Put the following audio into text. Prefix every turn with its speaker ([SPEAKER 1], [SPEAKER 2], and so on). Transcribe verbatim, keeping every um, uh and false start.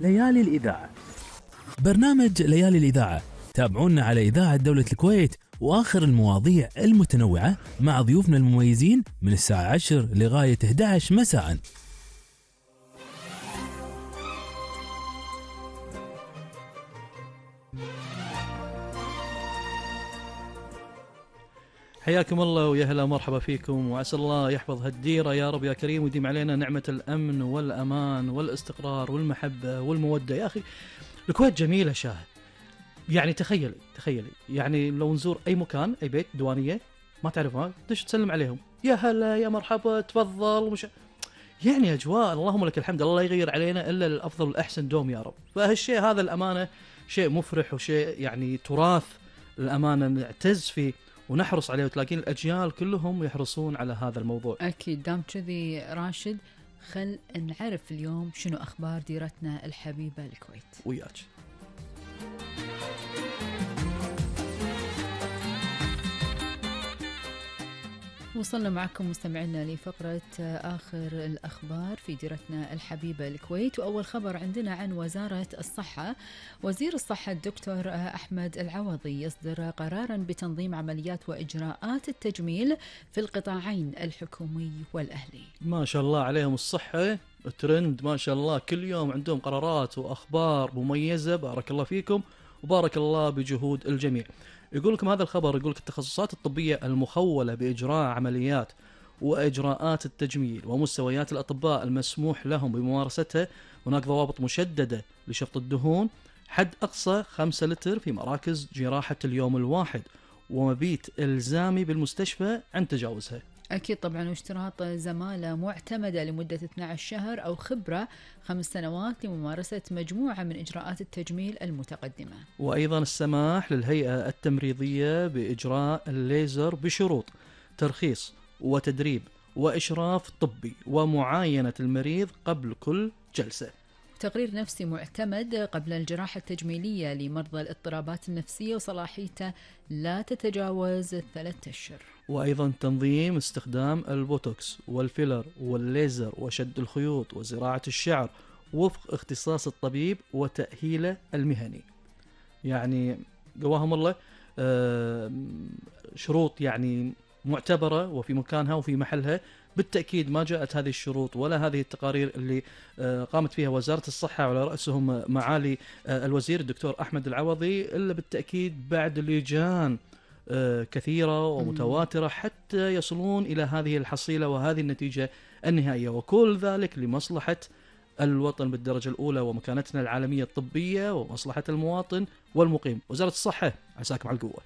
[SPEAKER 1] ليالي الإذاعة. برنامج ليالي الإذاعة تابعونا على إذاعة دولة الكويت وآخر المواضيع المتنوعة مع ضيوفنا المميزين من الساعة عشر لغاية إحدى عشر مساءً.
[SPEAKER 2] حياكم الله ويا هلا مرحبا فيكم، وعسى الله يحفظ هالديرة يا رب يا كريم، ويديم علينا نعمة الأمن والأمان والاستقرار والمحبة والمودة. يا أخي الكويت جميلة شاهد، يعني تخيلي تخيلي يعني لو نزور أي مكان، أي بيت دوانية ما تعرفها تدش تسلم عليهم، يا هلا يا مرحبا تفضل، مش يعني أجواء اللهم لك الحمد، الله يغير علينا إلا الأفضل والأحسن دوم يا رب. فهالشيء هذا الأمانة شيء مفرح وشيء يعني تراث الأمانة نعتز فيه ونحرص عليه، وتلاقين الأجيال كلهم يحرصون على هذا الموضوع.
[SPEAKER 3] أكيد دام كذي راشد، خل نعرف اليوم شنو أخبار ديرتنا الحبيبة الكويت
[SPEAKER 2] وياك.
[SPEAKER 3] وصلنا معكم مستمعينا لفقرة آخر الأخبار في ديرتنا الحبيبة الكويت. وأول خبر عندنا عن وزارة الصحة. وزير الصحة الدكتور أحمد العوضي يصدر قراراً بتنظيم عمليات وإجراءات التجميل في القطاعين الحكومي والأهلي.
[SPEAKER 2] ما شاء الله عليهم الصحة ترند، ما شاء الله كل يوم عندهم قرارات وأخبار مميزة، بارك الله فيكم وبارك الله بجهود الجميع. يقول لكم هذا الخبر، يقول لك التخصصات الطبية المخولة بإجراء عمليات وإجراءات التجميل ومستويات الأطباء المسموح لهم بممارستها، هناك ضوابط مشددة لشفط الدهون، حد أقصى خمسة لتر في مراكز جراحة اليوم الواحد، ومبيت إلزامي بالمستشفى عن تجاوزها.
[SPEAKER 3] أكيد طبعا، واشتراط زمالة معتمدة لمدة اثني عشر شهر أو خبرة خمس سنوات لممارسة مجموعة من إجراءات التجميل المتقدمة.
[SPEAKER 2] وأيضا السماح للهيئة التمريضية بإجراء الليزر بشروط ترخيص وتدريب وإشراف طبي ومعاينة المريض قبل كل جلسة.
[SPEAKER 3] تقرير نفسي معتمد قبل الجراحة التجميلية لمرضى الاضطرابات النفسية وصلاحيته لا تتجاوز ثلاثة أشهر.
[SPEAKER 2] وأيضا تنظيم استخدام البوتوكس والفيلر والليزر وشد الخيوط وزراعة الشعر وفق اختصاص الطبيب وتأهيله المهني. يعني قواهم الله شروط يعني معتبرة وفي مكانها وفي محلها. بالتأكيد ما جاءت هذه الشروط ولا هذه التقارير اللي قامت فيها وزارة الصحة وعلى رأسهم معالي الوزير الدكتور أحمد العوضي إلا بالتأكيد بعد لجان كثيرة ومتواترة حتى يصلون إلى هذه الحصيلة وهذه النتيجة النهائية، وكل ذلك لمصلحة الوطن بالدرجة الأولى ومكانتنا العالمية الطبية ومصلحة المواطن والمقيم. وزارة الصحة عساكم على القوة.